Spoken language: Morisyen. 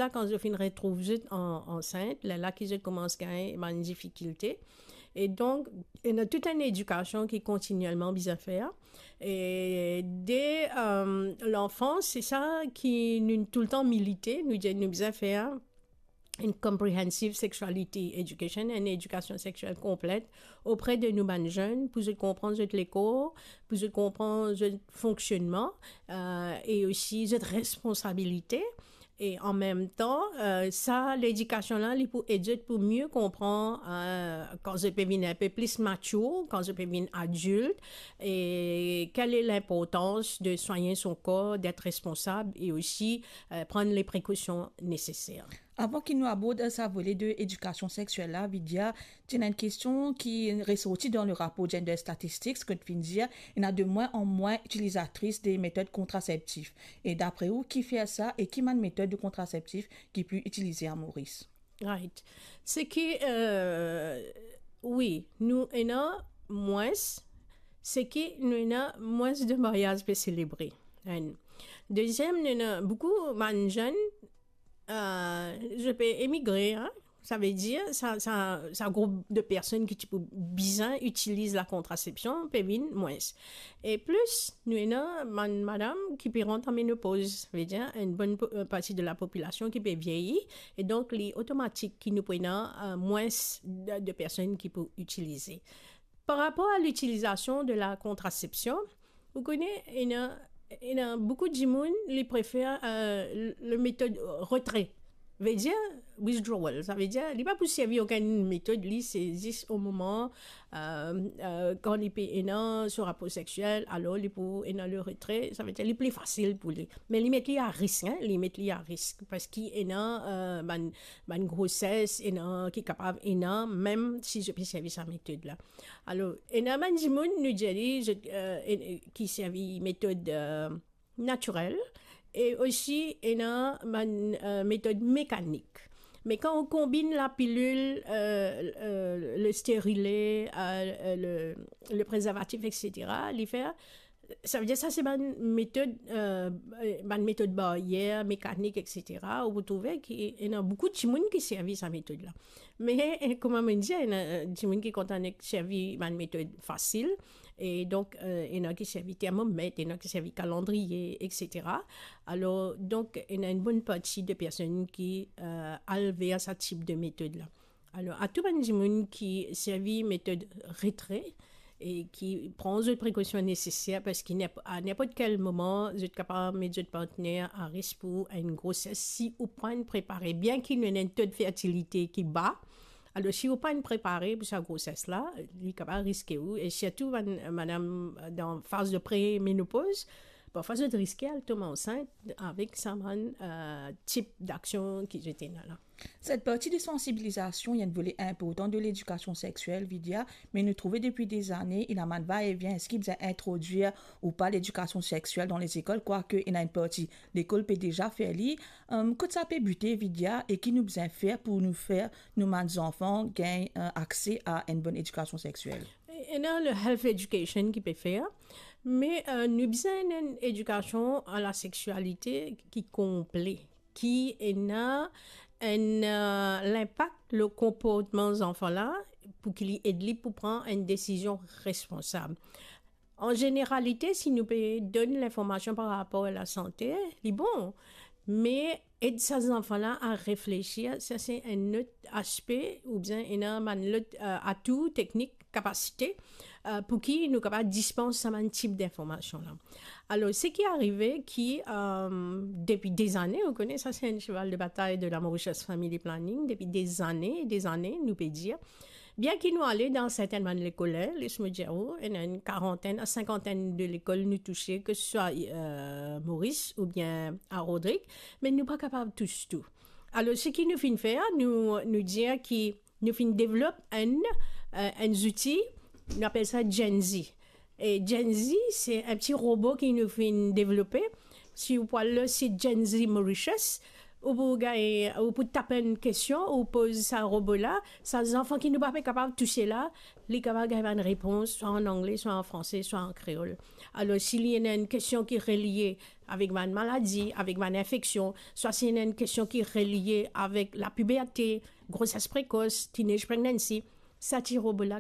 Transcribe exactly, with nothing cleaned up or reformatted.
la, kan zot finn retrouv zot an-, ansint, lerla ki zot koumans gagn bann difikilte. E donk, ena tou enn edikasion ki kontinielman bizin fer. E de, euh, lanfans, se sa ki nou toultan milite, nou dir nou bizin fer enn comprehensive sexuality education, enn edikasion sexiel konplet opre de nou bann zenn, pou zot konpran zot lekor, pou zot konpran zot fonksionnman, euh, e osi zot responsabilite. E an mem tan, euh, sa ledikasion la, li pou ed zot pou mie konpran, euh, kan zot pe vinn inpe plis matir, kan zot pe vinn adilt, e kel e linportans de swagn son kor, d'être responsab e osi, euh, pran le prekosion neseser. Avan ki nou abord sa vole de edikasion sexiel la, Vidya, ti ena enn kestion ki resorti dan le rapor Gender Statistics, kot finn dir, ena de mwin an mwin itilizatris de metod kontraseptif. E dapre ou, ki fer sa e ki bann metod de kontraseptif ki pli itilize a Moris? Right. Se ki, euh, wi, nou ena mwins, se ki nou ena mwins de maryaz pe selebre. Enn. Deziem, nou ena boukou bann zenn, euh, zot pe emigre, hein. Savedir, sa, sa, sa group de personn ki ti pou bizin itiliz lakontrasepsion pe vinn mwins. E plis, nou ena bann madam ki pe rant an menopoz, savedir, enn bonn po-, euh, parti de lapopilasion ki pe vieyi, e donk li otomatik ki nou pou ena, euh, mwins de, de personn ki pou itilize. Par rapor a litilizasion de lakontrasepsion, ou kone, ena, ena boukou dimoun, li prefer, euh, le, le metod retre. Vedir, withdrawal. Savedir, li pa pou servi okenn metod, li, se zis o moman, euh, euh, kan li pe ena so rapor sexiel, alor li pou ena le retre, savedir, li pli fasil pou li. Me li met li a risk, hein, li met li a risk, parski ena, euh, bann, bann groses, ena ki kapav ena, mem si zot pe servi sa metod la. Alor, ena bann dimoun, nou dir li, zot, euh, en-, ki servi metod, euh, natirel, e osi ena bann, euh, metod mekanik. Me kan ou konbinn lapilil, euh, euh, le sterile, euh, euh, le, le prezervatif, et cetera, li fer, savedir sa se bann metod, euh, euh, bann metod baryer, mekanik, et cetera, ou pou trouve ki ena boukou dimoun ki servi sa metod la. Me, euh, kouma mo dir, ena, euh, dimoun ki kontan servi bann metod fasil, e donk, euh, ena ki servi termomet, ena ki servi kalandriye, et cetera. Alor, donk, ena enn bonn parti de personn ki, euh, al ver sa tip de metod la. Alor, a tou bann dimoun ki servi metod retre e ki pran zot prekosion neseser, parski ninp-, a ninport kel moman, zot kapav met zot partner a risk pou enn groses si ou pa'nn prepare, bien ki nou ena enn to de fertilite ki ba, alor, si ou pa'nn prepare pou sa groses la, li kapav riske ou, e sirtou bann madam dan faz de premenopoz, parfwa zot riske al tom ansint avek sa bann, euh, tip daksion ki zot ena la. Set parti de sansibilizasion, enn vole inportan de ledikasion sexiel, Vidya, me nou trouve depi dezane, ena bann va-e-vien, eski bizin introdwir ou pa ledikasion sexiel dan lezekol, kwake ena enn parti lekol pe deza fer li. Euh, kot sa pe bite, Vidya, e ki nou bizin fer pou nou fer nou bann zanfan gagn, euh, akse a enn bonn edikasion sexiel? Ena le health education ki pe fer, me, euh, nou bizin enn edikasion a la sexialite ki konple, ki ena enn, euh, linpak le konportman zanfan la, pou ki li ed li pou pran enn desizion responsab. An zeneralite, si nou pe donn linformasion par rapor a lasante, li bon, me ed sa zanfan la a reflesir, sa se enn lot aspe, oubien ena bann lot, euh, atou teknik, kapasite, euh, pou ki nou kapav dispans sa bann tip dinformasion la. Alor, seki arive ki, euh, depi dezane, ou kone, sa se enn cheval de batay de la Mauritius Family Planning, depi dezane, dezane, nou pe dir, bien ki nou ale dan sertin bann lekol, les mo dir ou, ena enn karantenn a sinkantenn de lekol nou touse, ke swa, euh, Moris oubien a Rodrig, me nou pa kapav tous tou. Alor, seki nou finn fer, nou, nou dir ki nou finn devlop enn, euh, enn zouti, nou apel sa Gen Z. E Gen Z, se enn ti robo ki nou finn devlope. Si ou pou al lor sit Gen Z Mauritius, ou pou gagn, ou pou tap enn kestion, ou poz sa robo la, sa zanfan ki nou pa pe kapav touse la, li kapav gagn bann repons, swa an angle, swa an franse, swa an kreol. Alor, si li ena enn kestion ki relie avek bann maladi, avek bann infeksion, swa si ena enn kestion ki relie avek lapiberte, groses prekos, teenage pregnancy, sa ti robo la